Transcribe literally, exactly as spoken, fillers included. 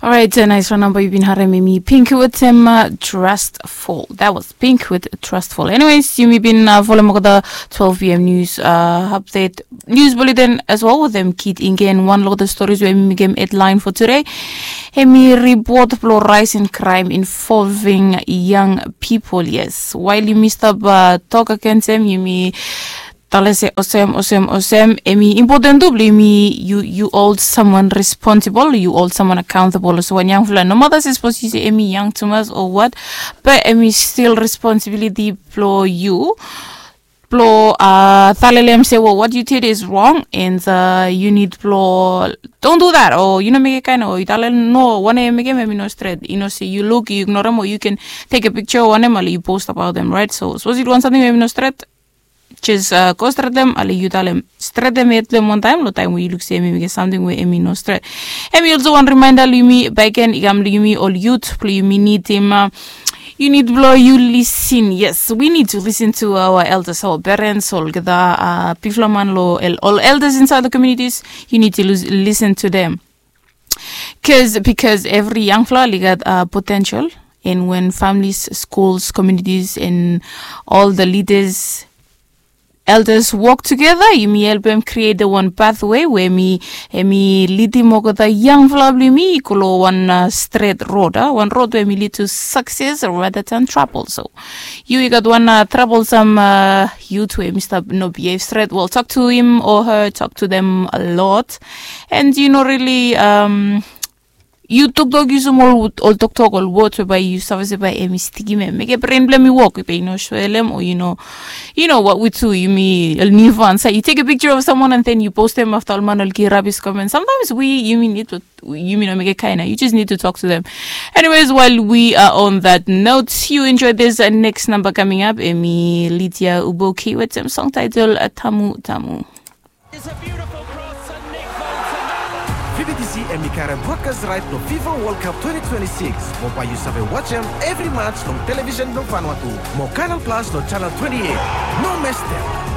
Orait, nais wan namba yu bin harem, hemi Pink wetem Trustful. That was Pink with Trustful. Anyways, yumi bin folem olgeta twelve p m news update, news bulletin as well wetem Kit Ingen. Wan olgeta stories we hemi mekem headline for today, hemi ripot blong rise in crime involving young people. Yes, wael yumi stap tok agensem, yumi tale se olsem, olsem, olsem, hemi impoten tu blong yumi, yu hold someone responsible, yu hold someone accountable. So wan yangfala, nomata se sapos yu se hemi yang tumas o wat, be hemi stil responsibiliti blong yu blong talelem se, well, what you did is wrong and yu nid blong don't do that, o yu no mekem kaen, o yu talem no, wanem yu mekem hemi no stret. Yu no se yu luk, yu ignorem, o yu ken tek a picture o wanem ale yu post abaotem, right? So sapos yu dui wan samting we hemi no stret, jes go stretem ale yu talem, stretem hed blong hem wantaem long taem we yu luk se hemi mekem samting we hemi no stret. Hemi olsem wan remaenda long yumi bakegen, i kam long yumi ol yut blong yumi nidim, yu nid blong yu lisin. Yes, we need to listen to our elders, our parents, olgeta bigfala man long ol elders inside the communities. You need to listen to them. Because, because evri yangfala oli gat potential, and when families, schools, communities and all the leaders, elders wok tugeta, yumi helpem create wan pathway we hemi lidim olgeta yangfala blong yumi i go long wan stret rod, a wan rod we hemi lid to success rather than trouble. So yu i gat wan troublesome yut we hemi stap no behave stret, well, talk to him or her, talk to them a lot. And yu no really yu toktok, yusum ol toktok, ol words we bae yu save se bae hemi stikim hem, mekem bren blong hem i wok. Be yu no soelem, o yu no, yu no, what we do, yumi ol niufan, so yu tek a picture of someone and then yu postem afta ol man oli givim rabis comment. Sometimes we, yumi nid to, yumi no mekem kaen, you just need to talk to them. Anyways, while we are on that note, you enjoy this next number coming up, hemi Lydia Uboki wetem song title Tamu Tamu. It's a beautiful cross and Nick Van Tamarra. Fi bi disi hemi karem broadcast right long FIFA World Cup twenty twenty-six. Mo bae yu save wajem evri match long television blong Vanuatu. Mo Canal Plus long channel twenty-eight. No mestem.